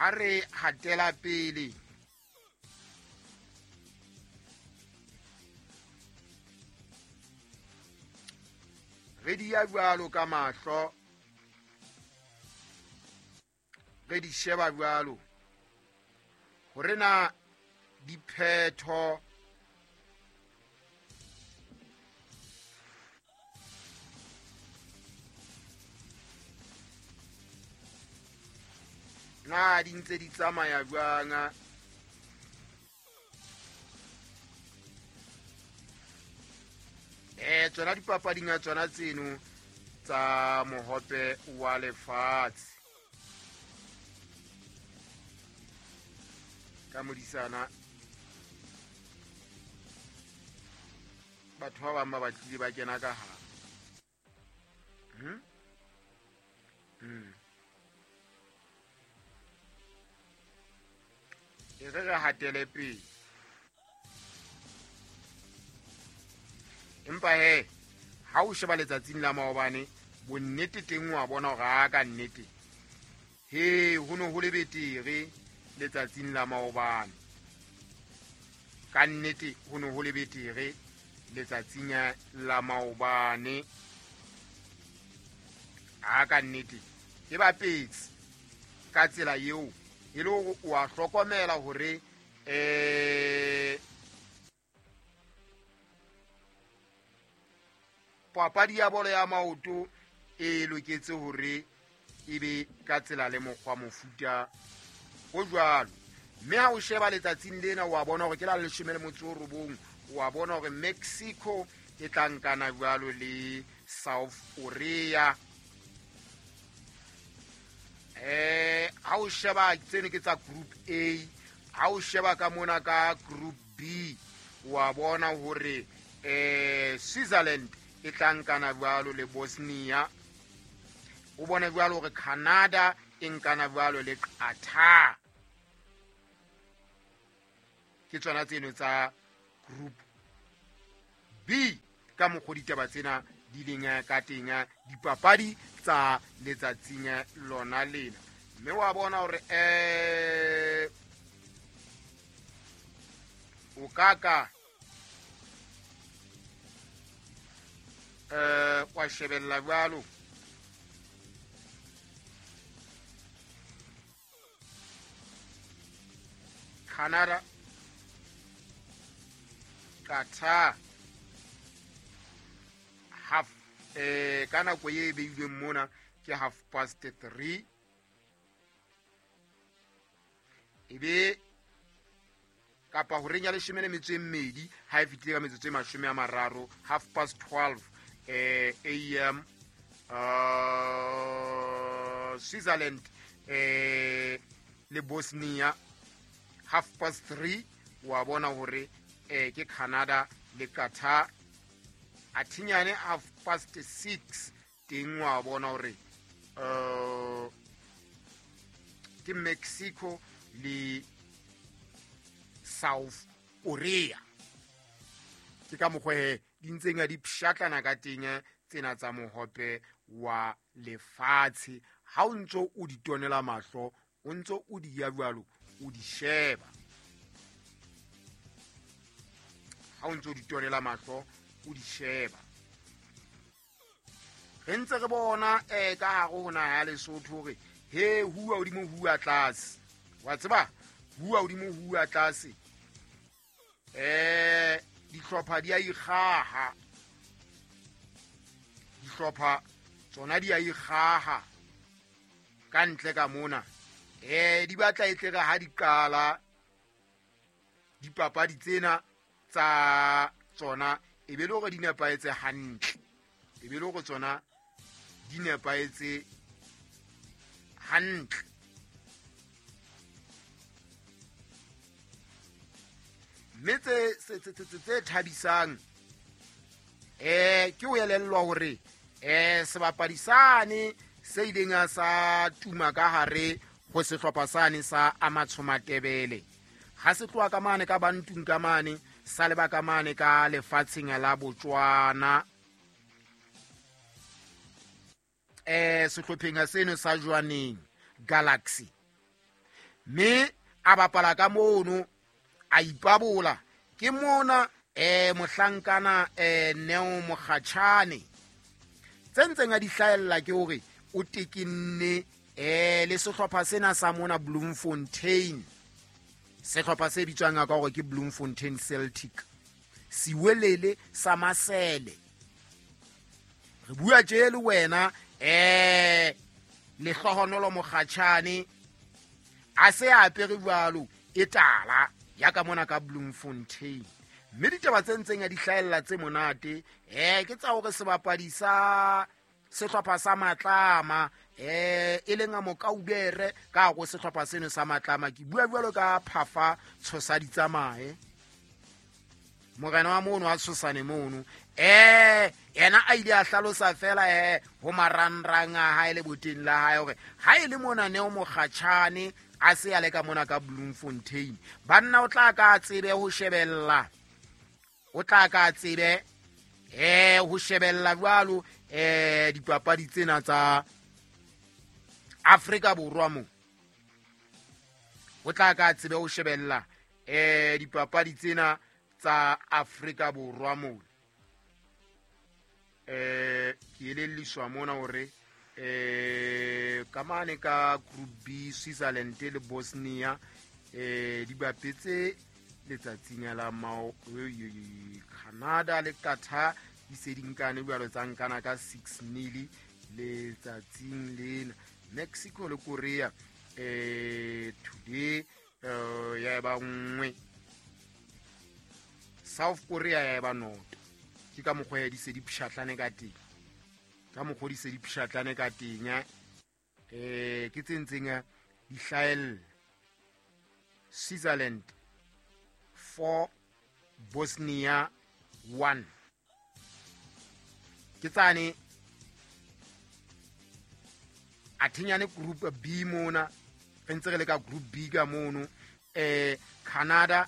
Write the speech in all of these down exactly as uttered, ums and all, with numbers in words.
Ha re hatela pele re di ya jwalo ka mahlo, re di sheba jwalo hore na diphetho na di ntse di tsamaya jwang. Eh tsona dipapading a tsona tseno tsa mohope wa lefatshe ka modisana batho ba bang ba batlile ba kena ka hare. Hmm? Hmm. E re re hatele pele. Empa he ha o sheba letsatsing la maobane bonnete teng wa bona hore a ka nnete he ho no ho le betere letsatsing la maobane, ka nnete ho no ho le betere letsatsing la maobane, a ka nnete e bapetse ka tsela eo e le hore o a hlokomela hore eh papadi ya bolo ya maoto e loketse hore e be ka tsela le mokgwa mofuta o jwalo. Mme ha o sheba letsatsing lena wa bona hore ke la leshome le motso o robong, wa bona hore Mexico e tla nkana jwalo le South Korea. Eh ha o sheba tseno ke tsa group A, ha o sheba ka mona ka group B wa bona hore eh Switzerland e tla nkana jwalo le Bosnia, o bona jwalo hore Canada e nkana jwalo le Qatar. Ke tsona tseno tsa group B ka mokgwa ditaba tsena di leng ka teng dipapadi tsa letsatsing lona lena. Mme wa bona hore eh o ka ka eh wa shebella jwalo Canada, Qatar half eh ka nako e beilweng mona ke half past three, ebe kapa horeng ya leshome le metso e mmedi ha e fetile ka metsotso e mashome a mararo, half past twelve eh A M uh, Switzerland eh le Bosnia, half past three wa bona hore eh ke Canada le Qatar. Athinyane half past six teng wa bona hore uh ke Mexico le South Korea. Ke ka mokgwa he di ntseng a di pshatlana ka teng tsena tsa mohope wa lefatshe. Ha o ntso o di tonela mahlo, o ntso o di ya jwalo, o di sheba. Ha o ntso o di tonela mahlo, o di sheba. Re ntse re bona eh ka hare ho naha ya Lesotho hore he huwa hodimo huwa tlase, wa tseba huwa hodimo huwa tlase eh dihlopha di a ikgaha, dihlopha tsona di a ikgaha ka ntle ka mona. Eh di batla e tle re ha di qala dipapadi tsena tsa tsona e be le hore di nepahetse hantle, e be le hore tsona di nepahetse hantle. Mme tse tse thabisang eh ke o elellwa hore eh sebapadi sane se ileng sa tuma ka hare ho sehlopha sane sa Amatshomatebele ha se tloha ka mane ka Bantung ka mane sa leba ka mane ka lefatsheng la Botswana eh sehlopheng seno sa Jwaneng Galaxy. Mme a bapala ka mono a ipabola ke mona eh mohlankana eh Neo Mokgatjhane tse ntseng a di hlahella ke hore o tekenne eh le sehlopha sena sa mona Bloemfontein, sehlopha se bitswang ka hore ke Bloemfontein Celtic, siwelele sa masele. Re bua tje le wena eh Lehlohonolo Mokgatjhane a se a apere jwalo e tala ya ka mona ka Bloemfontein. Mme ditaba tse ntseng a di hlahella tse monate eh ke tsa hore sebapadi sa sehlopha sa Matlama eh e leng a Mokaubere ka go sehlopha seno sa Matlama, ke bua jwalo ka Phafa Tshosa di tsamaye morena wa mono wa Tshosane mono eh yena a ile a hlalosa fela eh ho marangrang a hae le boteng la hae hore ha e le mona Neo Mokgatjhane a se a le ka mona ka Bloemfontein, banna o tla ka tsebe ho shebella, o tla ka tsebe eh ho shebella jwalo eh dipapadi tsena tsa Afrika Borwa mo, o tla ka tsebe ho shebella eh dipapadi tsena tsa Afrika Borwa mo. Eh ke elelliswa mona hore eh ka mane ka Group B Switzerland le Bosnia eh di bapetse letsatsing la mao Canada le Qatar di se di nkane jwalo tsa nkana ka six nil letsatsing lena. Mexico le Korea eh today eh ya ba nngwe, South Korea ya ba noto. Ke ka mokgwa ya di se di pshatlane ka teng, ka mokgwa di se di pshatlane ka teng eh ke tse ntseng di hlahella. Switzerland four, Bosnia one. Ke tsane a thinyane Group B mona, re ntse re le ka Group B ka mono eh Canada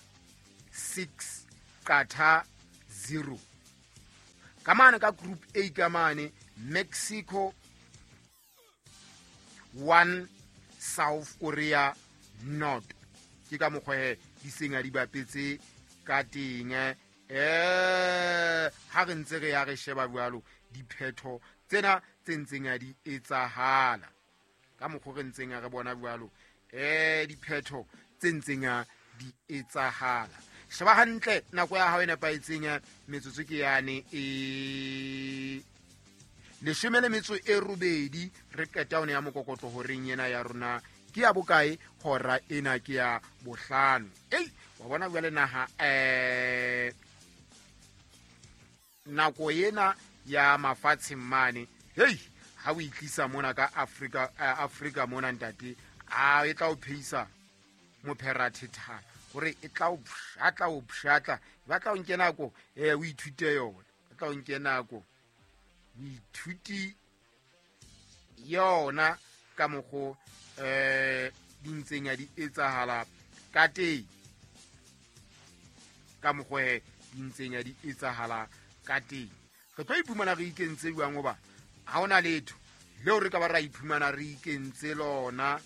six, Qatar zero. Ka mane ka Group A ka mane Mexico one, South Korea not. Ke ka mokgwa he di seng a di bapetse ka teng eh ha re ntse re ya re sheba jwalo diphetho tsena tse ntseng a di etsahala ka mokgwa re ntseng a re bona jwalo eh diphetho tse ntseng a di etsahala. Sheba hantle nako ya hao e nepahetseng, metsotso ke yane e leshome le metso e robedi re qeta one ya mokokotlo horeng ena ya rona ke ya bokae hora ena ke ya bohlano. Ei wa bona jwale naha eh nako ena ya mafatsheng mane hei ha o itlisa mona ka Afrika Afrika mona ntate a e tla o pheisa mopherathethana hore e tla o pshatla o pshatla ba tla o nke nako eh o ithute yona, ba tla o nke nako o ithuti yona ka mokgo eh di ntseng ya di etsahala ka teng, ka mokgo he di ntseng ya di etsahala ka teng. Re tlo iphumana re ikentse jwang hoba ha hona letho leo re ka ba ra iphumana re ikentse lona,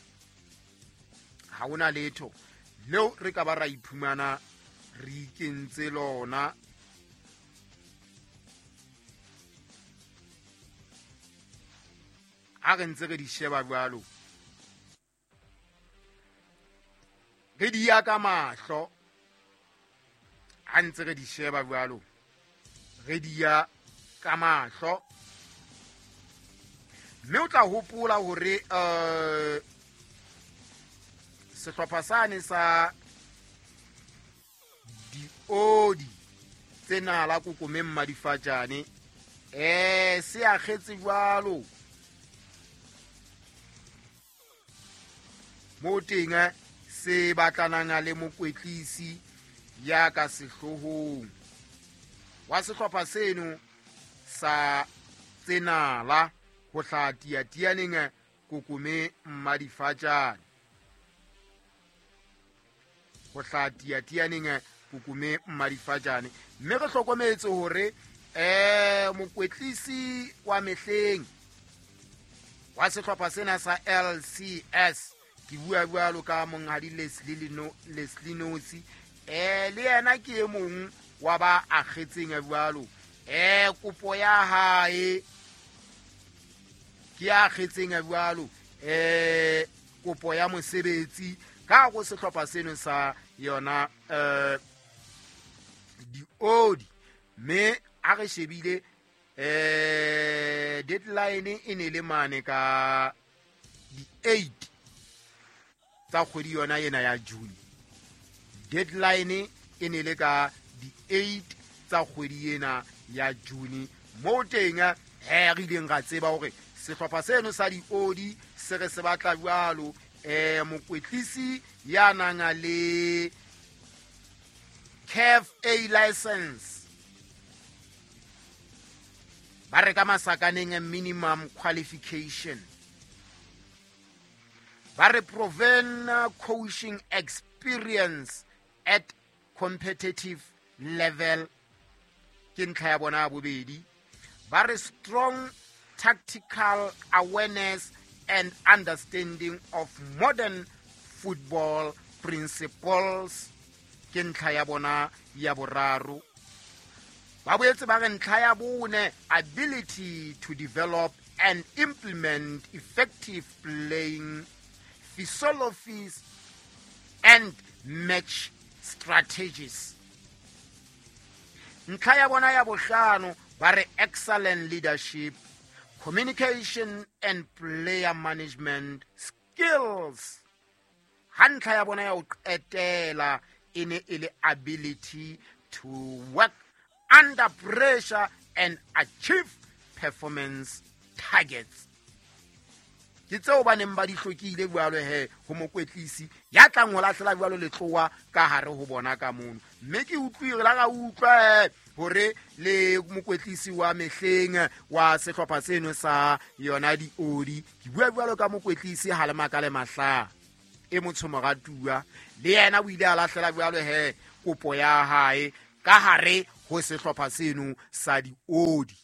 ha hona letho leo re ka ba ra iphumana re ikentse lona. Ha re ntse re di sheba jwalo re di ya ka mahlo, ha ntse re di sheba jwalo re di ya ka mahlo. Mme o tla hopola hore eh sehlopha sane sa diodi tsena la kokomeng madifatjane eh se akgetse jwalo mo teng se batlanang le mokwetlisi ya ka sehlohong wa sehlopha seno sa tsenala ho hla tiatianeng kokome madifatjane, ho hla tiatianeng kokome madifatjane. Mme re hlokometse hore eh mokwetlisi wa mehleng wa sehlopha sena sa L C S Ke bua jwalo ka monghadi Leslie no Leslie Nosi, eh le yena ke e mong wa ba akgetseng jwalo. Eh kopo ya hae ke a akgetseng jwalo, eh kopo ya mosebetsi ka go sehlopha seno sa yona eh diodi. Mme a re shebile eh deadline e ne le mane ka di eight tsa kgwedi yona ena ya June. Deadline e ne le ka di eight tsa kgwedi ena ya June. Mo teng he re ileng ra tseba hore sehlopha seno sa diodi se re se batla jwalo eh mokwetlisi ya nang le C A F A license, ba re ka masakaneng minimum qualification, ba re proven coaching experience at competitive level, ke ntlha ya bona ya bobedi, ba re strong tactical awareness and understanding of modern football principles, ke ntlha ya bona ya boraro. Ba boetse ba re ntlha ya bone, ability to develop and implement effective playing philosophies and match strategies. Ntlha ya bona ya bohlano, ba re excellent leadership, communication and player management skills. Ha ntlha ya bona ya ho qetela e ne e le ability to work under pressure and achieve performance targets. Ke tseo ba neng ba di hlokile jwalo he ho mokwetlisi ya tlang ho lahlela jwalo letlowa ka hare ho bona ka mono. Mme ke utlwile la ka utlwa hore le mokwetlisi wa mehleng wa sehlopha seno sa yona diodi, ke bua jwalo ka mokwetlisi ha le makale mahla e motsho moratuwa, le yena o ile a lahlela jwalo he kopo ya hae ka hare ho sehlopha seno sa diodi.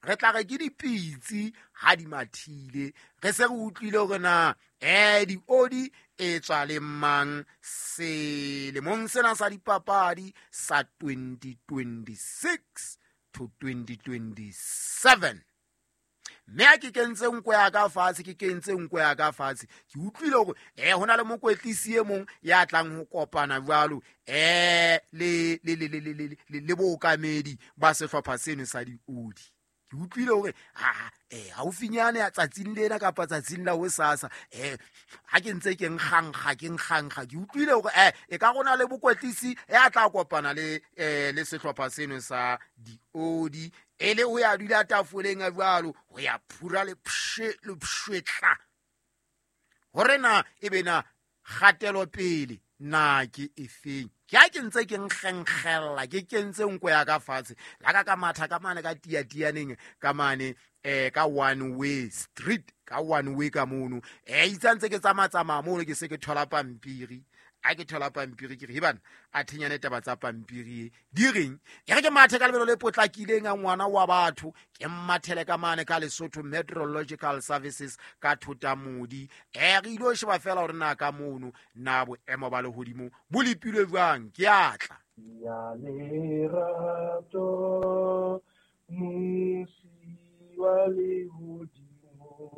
Re tla re ke dipitsi ha di mathile, re se re utlwile hore na eh diodi e tswa le mang selemong sena sa dipapadi sa twenty twenty-six to twenty twenty-seven. Mme ha ke kentse nko ya ka fatshe, ke kentse nko ya ka fatshe, ke utlwile hore eh hona le mokwetlisi e mong ya tlang ho kopana jwalo eh le le le le le le bookamedi ba sehlopha seno sa diodi. Ke utlwile hore ha eh haufinyane ya tsatsing lena kapa tsatsing la hosasa eh ha ke ntse ke nkgankga ke nkgankga ke utlwile hore eh e ka rona le bokwetlisi ya tla kopana le eh le sehlopha seno sa diodi e le ho ya dula tafoleng a jwalo ho ya phura le pshe le pshwetla hore na e be na kgatelo pele na ke efeng. Ke ha ke ntse ke nkgenkgella ke kentse nko ya ka fatshe la ka ka matha ka mane ka tiatianeng ka mane eh ka one way street ka one way ka mono eh itse ntse ke tsamatsamaya mono ke se ke thola pampiri. A ke thola pampiri ke re bana a thenyane taba tsa pampiri di reng e re ke mathe ka lebelo le potlakileng a ngwana wa batho ke mmathele ka mane ka Lesotho Meteorological Services ka Thotamodi. Eh re ile ho sheba fela hore na ka mono na boemo ba lehodimo bo lepilwe jwang. Ke atla ya lerato musi wa lehodimo.